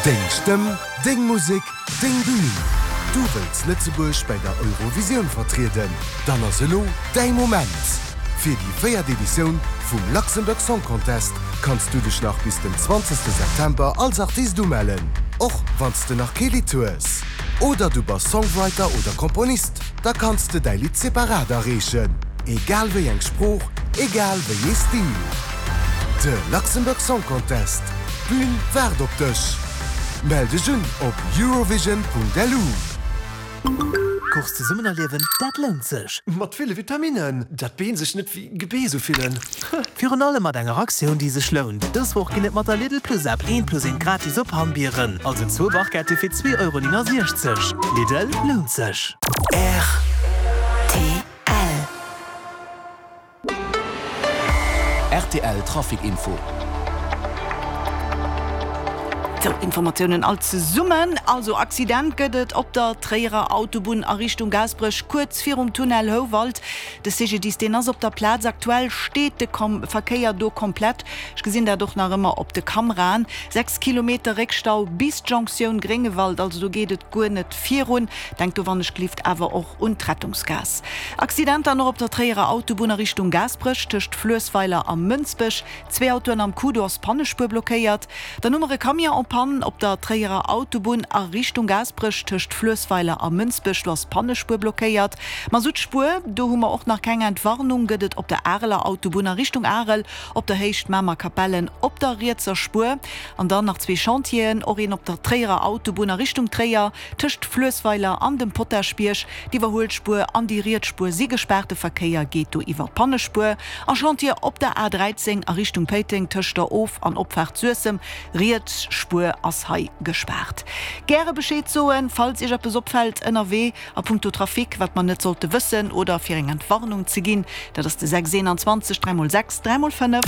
Deng Stëmm, deng Musek, deng Bün! Du wëlls Lëtzebuerg bäi der Eurovisioun vertrieden? Dann ass elo däi Moment! Fir déi véiert Editioun vum Luxembourg Song Contest kanns du dech nach bis den 20 September als Artist umellen, och wann s de nach kee Lidd hues. Oder du bass Songwriter oder Komponist, da kanns de däi Lidd separat areechen, egal wéi eng Sprooch, egal wéi ee Stil. De Luxembourg Song Contest, d'Bün waart op dech! Mell dech un op eurovision.lu. Course zesummen erliewen, dat lount sech! Mat ville Vitaminnen, dat d'Been sech net wéi Gebeess ufillen. Virun allem mat enger Aktioun, déi sech lount. Dës Woch ginn et mat der Lidl Plus App eent plus eent gratis op Hammbieren, also zwou Barquette fir 2,69 Euro. Lidl, lount sech! Rtl. Rtl Trafic Info. Sou, Informatiounen all zesummen. Also Accident gëtt et op der Tréierer Autobunn a Richtung Gaasperech, kuerz virum Tunnel Houwald. De CGDIS deen ass op der Plaz. Aktuell steet de Verkéier do komplett. Ech gesinn dat och nach ëmmer op de Kameraen. 6 Kilometer Réckstau bis d'Jonctioun Gréngewald, also do geet et guer net virun. Denkt do wannechgelift awer och un d'Rettungsgaass. Accident dann och op der Tréierer Autobunn a Richtung Gaasperech, tëscht Fluessweiler a Mënsbech. Zwee Autoen am Coup, do ass d'Pannespuer blockéiert. Dann hu mer e Camion en panne op der Tréierer Autobunn a Richtung Gaasperech, tëscht Fluessweiler a Mënsbech, do ass d'Pannespuer blockéiert. Masuttspuer, do hu mer och nach keng Entwarnung, gëtt et op der Areler Autobunn a Richtung Arel, op der Héicht Mamer-Kapellen op der rietser Spuer. An dann nach zwee Chantieren, och een op der Tréierer Autobunn a Richtung Tréier, Tëscht Fluessweiler an dem Potaschbierg, d'Iwwerhuelspuer an déi riets Spuer si gespaart, de Verkéier geet do iwwer d'Pannespuer. A Chantier op der A 13 a Richtung Péiteng tëscht der Of an Opfaart Suessem, riets Spuer ass hei gespaart. Gäre Bescheed soen, falls Iech eppes opfält ënnerwee a punkto Trafic, wat mer net sollte wëssen oder fir eng Entwarnung ze ginn. Dat ass de 6 21 3 x 6 3 x 5.